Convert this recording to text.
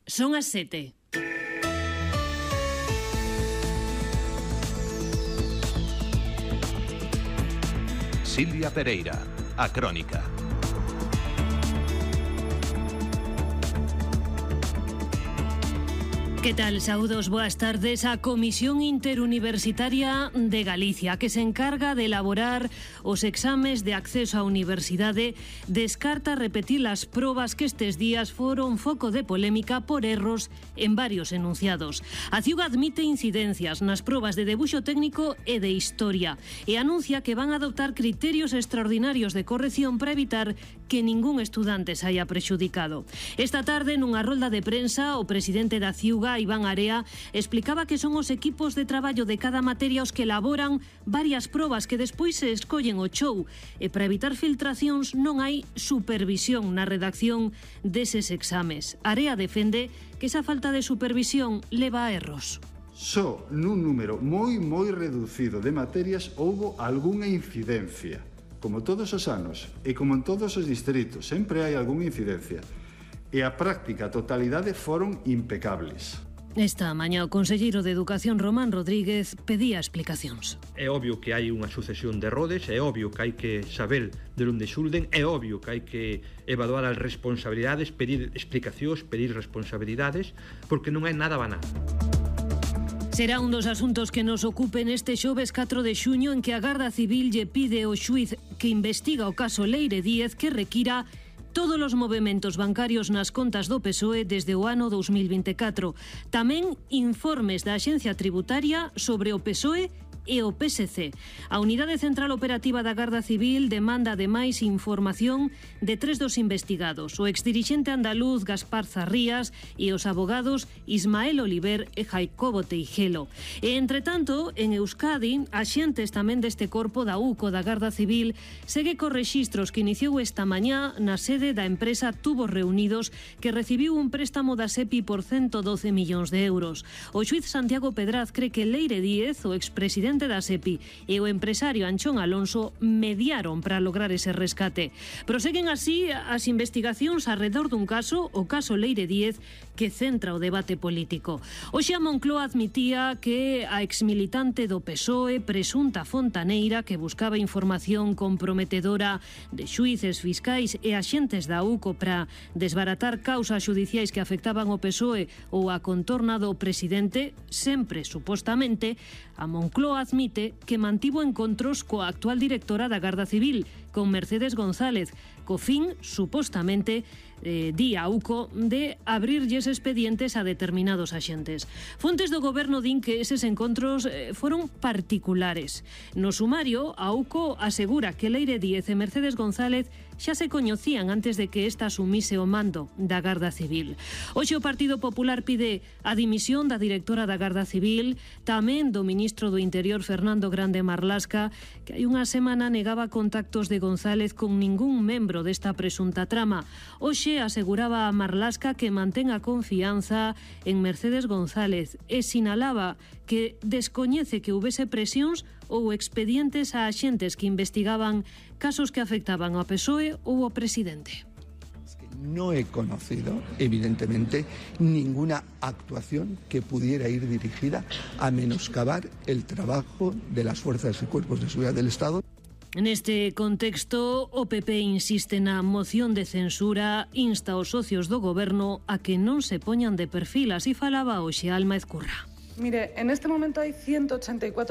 Son as 7. Silvia Pereira, a Crónica. Que tal? Saúdos, boas tardes. A Comisión Interuniversitaria de Galicia, que se encarga de elaborar os exames de acceso á universidade, descarta repetir as probas que estes días foron foco de polémica por erros en varios enunciados. A CIUG admite incidencias nas probas de debuxo técnico e de historia e anuncia que van a adoptar criterios extraordinarios de corrección para evitar que ningún estudante se haya prexudicado. Esta tarde, nunha rolda de prensa, o presidente da CIUG, Iván Area, explicaba que son os equipos de traballo de cada materia os que elaboran varias probas que despois se escollen o show, e para evitar filtracións non hai supervisión na redacción deses exames. Area defende que esa falta de supervisión leva a erros. Só nun número moi reducido de materias houbo algunha incidencia. Como todos os anos e como en todos os distritos, sempre hai algunha incidencia. E a práctica totalidade foron impecables. Esta mañá o conselleiro de Educación, Román Rodríguez, pedía explicacións. É obvio que hai unha sucesión de errores, é obvio que hai que saber de onde xulden, é obvio que hai que evaluar as responsabilidades, pedir explicacións, pedir responsabilidades, porque non é nada banal. Será un dos asuntos que nos ocupen este xoves 4 de xuño, en que a Garda Civil lle pide ao xuíz que investiga o caso Leire Díez que requira todos os movementos bancarios nas contas do PSOE desde o ano 2024. Tamén informes da Axencia Tributaria sobre o PSOE e o PSC. A Unidade Central Operativa da Garda Civil demanda ademais información de 3 dos investigados, o exdirixente andaluz Gaspar Zarrías e os abogados Ismael Oliver e Jacobo Teijelo. E, entre tanto, en Euskadi, axentes tamén deste corpo da UCO da Garda Civil segue cos rexistros que iniciou esta mañá na sede da empresa Tubos Reunidos, que recibiu un préstamo da SEPI por 112 millóns de euros. O xuíz Santiago Pedraz cree que Leire Díez, o expresidente da SEPI, e o empresario Anchón Alonso mediaron para lograr ese rescate. Proseguen así as investigacións arredor dun caso, o caso Leire Díez, que centra o debate político. Hoxe a Moncloa admitía que a exmilitante do PSOE, presunta fontaneira, que buscaba información comprometedora de xuíces, fiscais e axentes da UCO para desbaratar causas xudiciais que afectaban o PSOE ou a contorna do presidente, sempre, supostamente, a Moncloa admite que mantivo encontros coa actual directora da Garda Civil, con Mercedes González, co fin, supostamente, di a UCO, de abrirlles expedientes a determinados axentes. Fontes do goberno din que eses encontros foron particulares. No sumario, a UCO asegura que Leire Díez e Mercedes González xa se coñecían antes de que esta asumise o mando da Garda Civil. Hoxe o Partido Popular pide a dimisión da directora da Garda Civil, tamén do ministro do Interior, Fernando Grande Marlasca, que hai unha semana negaba contactos de González con ningún membro desta presunta trama. Hoxe aseguraba a Marlasca que mantén a confianza en Mercedes González e sinalaba que descoñece que houbese presións ou expedientes a axentes que investigaban casos que afectaban ao PSOE ou ao presidente. No he conocido, evidentemente, ninguna actuación que pudiera ir dirigida a menoscabar el trabajo de las fuerzas y cuerpos de seguridad del Estado. Neste contexto, o PP insiste na moción de censura, insta aos socios do goberno a que non se poñan de perfil, así falaba hoxe Alma Ezcurra. Mire, en este momento hai 184